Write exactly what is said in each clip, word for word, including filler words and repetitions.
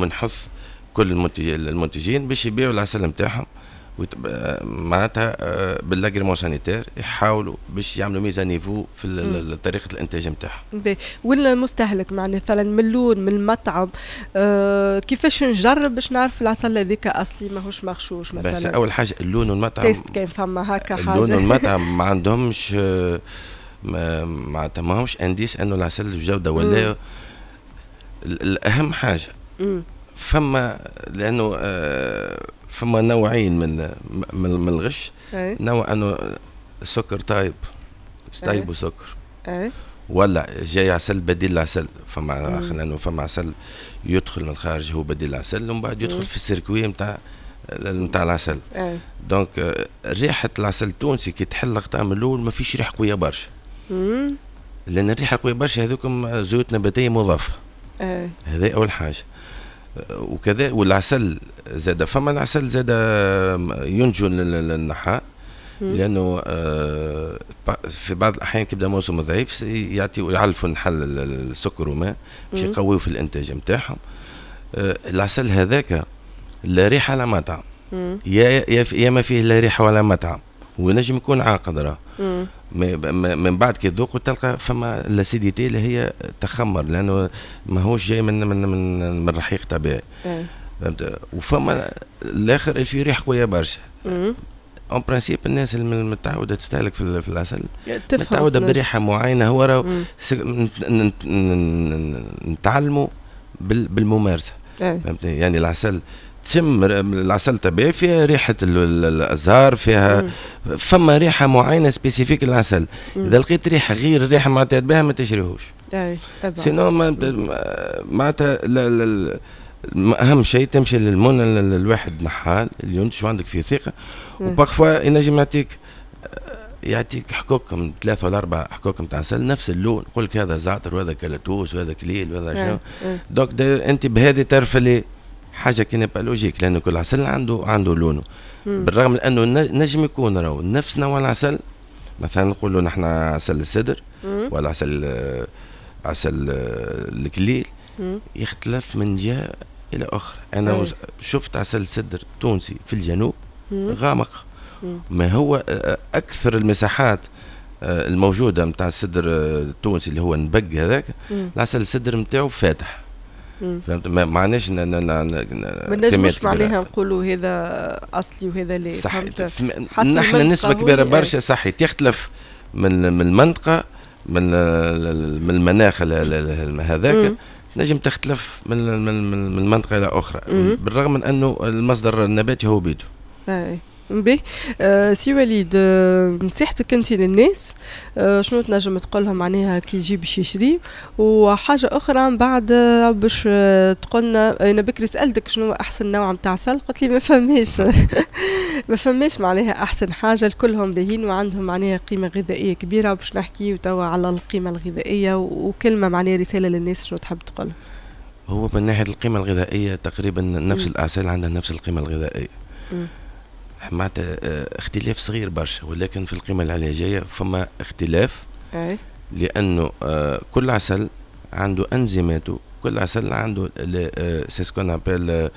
اليوم نحث كل المنتجين باش يبيعوا العسل نتاعهم معناتها آه، بال l'agrément sanitaire، يحاولوا باش يعملوا mise à niveau في طريقه الانتاج نتاعهم. والمستهلك معناها مثلا من اللون، من المطعم، آه كيفاش نجرب باش نعرف العسل هذيك اصلي ماهوش مغشوش مثلا؟ بس اول حاجة اللون والمطعم. test كان فما هكا حاجه. اللون والمطعم ما عندهمش آه، معناتها ماهمش indice انه العسل الجودة ولا. الاهم حاجة فما لانه آه فما نوعين من من, من الغش. نوع انه السكر طايب، طايب وسكر ولا جاي عسل بديل العسل. فما لانه فما عسل يدخل من الخارج هو بديل العسل، ومن بعد يدخل في ال circuit نتاع نتاع العسل. donc ريحه العسل التونسي كي تحل الغطاء من الاول ما فيش ريحه قوية برشا، لان الريحة قوية برشا هذوكم زيوت نباتيه مضافه. هذا اول حاجه. وكذا والعسل زاد، فما العسل زاد ينتجو النحال، لانه آه، في بعض الاحيان كيبدا موسم ضعيف يعطيو يعلفوا النحل السكر وماء باش يقويوا في الانتاج نتاعهم. آه، العسل هذاك لا ريحه لا مطعم، يا يا ما فيه لا ريحه ولا مطعم، ونجم يكون عاقد راه. من بعد كي تذوق تلقى فما l'acidité اللي هي تخمر، لانه ماهوش جاي من من من, من رحيق طبيعي، فهمت؟ وفما الاخر اللي فيه ريحه قوية برشا. en principe الناس المتعوده تستهلك في العسل متعوده بريحه معينه. هو راهو نتعلموا بالممارسه، فهمتني؟ يعني العسل تشم العسل طبيعي فيها ريحه الازهار، فيها فما ريحه معينة spécifique للعسل. اذا لقيت ريحه غير الريحة معتاد بها ما تشريهوش. اي sinon معناتها اهم شيء تمشي للمن الواحد نحال اللي ينتج وعندك فيه ثقه، و parfois ينجم يعطيك يعطيك حكوك من ثلاثة ولا أربع حكوك نتاع عسل نفس اللون، يقول لك هذا زعتر وهذا كالتوس وهذا كليل وهذا شنو. donc أنت بهذه تعرف اللي حاجة qui n'est pas logique، لأنه كل عسل عنده عنده لونه، بالرغم من أنه نجم يكون راهو نفس نوع العسل. مثلا نقولوا نحن عسل السدر ولا عسل عسل الكليل يختلف من جهة إلى أخرى. أنا شفت عسل سدر تونسي في الجنوب غامق، ما هو اكثر المساحات آه، الموجودة نتاع السدر التونسي اللي هو نبق هذاك، العسل السدر نتاعو فاتح، فهمت؟ ما معناش ما نجموش معناها نقولوا هذا اصلي وهذا لا. صح، نحن نسبه كبيرة برشا صحيح يختلف من من المنطقه، من من المناخ هذاك، نجم تختلف من من من منطقة الى اخرى، بالرغم من انه المصدر النباتي هو بيدو. اي باهي، آه سي وليد، آه نصيحتك انت للناس آه شنو تنجم تقول لهم معناها كي يجي باش يشري؟ وحاجه اخرى من بعد آه، باش آه، تقولنا، انا بكري سالتك شنو احسن نوع نتاع عسل، قلت لي ما فماش ما فماش معناها احسن حاجه، كلهم باهين وعندهم معناها قيمة غذائية كبيره. باش نحكي توا على القيمة الغذائيه، وكلمه معناها رسالة للناس شنو تحب تقول؟ هو من ناحية القيمة الغذائية تقريبا نفس الاعسال عندها نفس القيمة الغذائيه، معناتها آه، اختلاف صغير برشا، ولكن في القيمة العلاجية فما اختلاف. أي. لانه آه، كل عسل عنده انزيماته، كل عسل عنده c'est ce qu'on appelle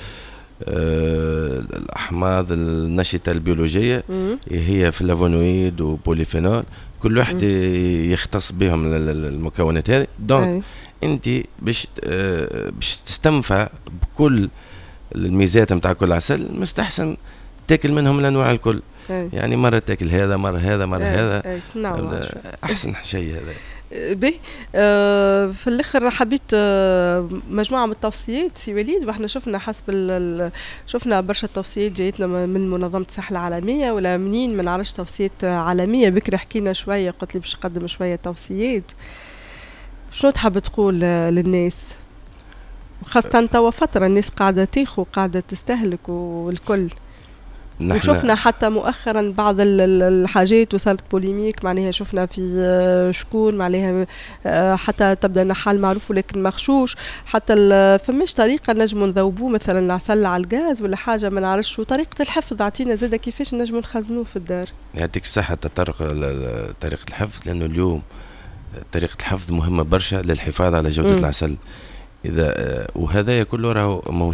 الاحماض النشطه البيولوجيه، هي flavonoïdes و polyphénols، كل واحد يختص بهم المكونات هذه. donc انت باش آه، باش تستنفع بكل الميزات نتاع كل عسل مستحسن تاكل منهم الانواع الكل. أي. يعني مرة تاكل هذا، مرة هذا، مرة أي. هذا. أي. نعم. احسن شيء هذا. باهي، آه في الاخر حبيت آه مجموعة من التوصيات سي وليد، واحنا شفنا حسب ال شفنا برشا توصيات جايتنا من منظمة الصحة العالمية ولا منين ما نعرفش، توصيات عالميه. بكري حكينا شويه، قلت لي باش نقدم شوية توصيات. شنو تحب تقول للناس، خاصة توا فترة الناس قاعدة تاخو، قاعدة تستهلك والكل؟ وشفنا حتى مؤخرا بعض الحاجات وصارت polémique، معناها شفنا في آه، شكون معناها آه، حتى تبدا نحال معروف ولكن مغشوش. حتى فماش طريقه نجموا نذوبوه مثلا العسل على الغاز ولا حاجة ما نعرفش؟ وطريقه الحفظ اعطينا زاده كيفاش نجموا نخزنوه في الدار. يعطيك الصحه، تطرق طريقه الحفظ، لانه اليوم طريقه الحفظ مهمة برشا للحفاظ على جوده م. العسل. اذا آه، وهذا كله راهو موجود.